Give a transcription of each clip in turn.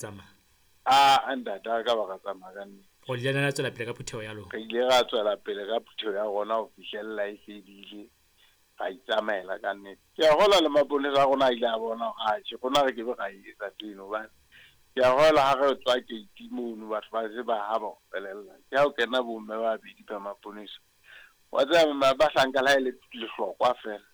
Tsamaya. A ntate a ka ba ka tsamaya ka nnete. O le ile la tswela pele ka phutheho ya lona? Re ile ra tswela pele ka phutheho ya rona ho fihlella e fedile, ra itsamaela ka nnete. Ke a kgolwa le maponesa a rona a ile a bona hore atjhe rona re kebe ra e etsa ntho eno hobane ke a kgolwa ha re tswa gate mono batho ba se ba ha ba o felella. Ke ha o kena bo mme ba babedi ba maponesa. Wa tseba bahlanka le ha e le lehlokwa feela.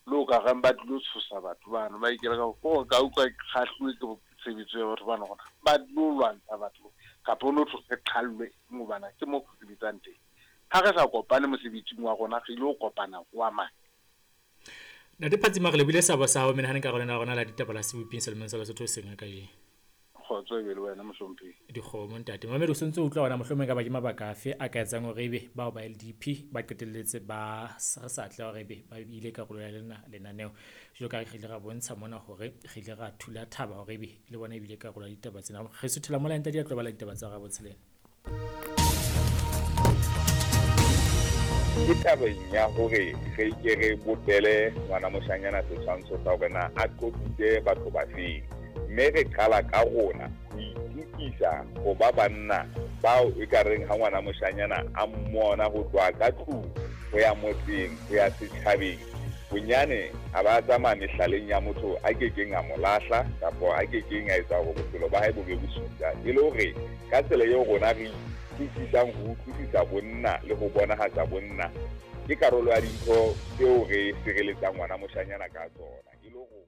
Le o ka reng ba tlilo tshosa batho bano, ba ikela ka gore ka utlwa ke kgahluwe ke tshebetso ya batho bano gore ba tlilo lwantsha batho kapa o no thwe re qhallwe hobane ke mo re sebetsang teng. Ha re sa kopane mosebetsing wa rona re ile go kopana kwa mang. Ntate Phatsima, re lebohile seabo sa hao menahaneng karolong ya rona la ditaba la seboping selemong sa Lesotho hoseng ha kajeno. Kgotso e be le wena mohlomphehi. Dikgomo ntate. Momamedi o sontse o utlwa hona mohlomong e ka ba ke mabaka afe a ka etsang hore ebe bao ba LDP ba qetelletse ba re sa atleha hore ebe ba ile karolo ya lena lenaneo. Jwalo ka re ile ra bontsha mona hore re ile ra thula thaba hore ebe le bona ebile karolo ya ditaba tsena. Re suthela mola ntate ya tlo bala ditaba tsa Rabotshelena. Ke tabeng ya hore re ke re bopele ngwana moshanyana setshwantsho sa hore na a qotsitse batho bafeng, mme re qala ka rona ho itokisa ho ba banna bao e ka reng ha ngwana moshanyana a mmona ho tloha ka tlung ho ya motseng ho ya setjhabeng, bonyane a ba tsamaya mehlaleng ya motho a ke keng a mo lahla kapa a ke keng a etsa hore bophelo ba hae bo be bosula, e le hore ka tsela eo rona re itokisang ho utlwisisa bonna le ho bonahatsa bonna ke karolo ya dintho tseo re sireletsang ngwana moshanyana ka tsona e le ho.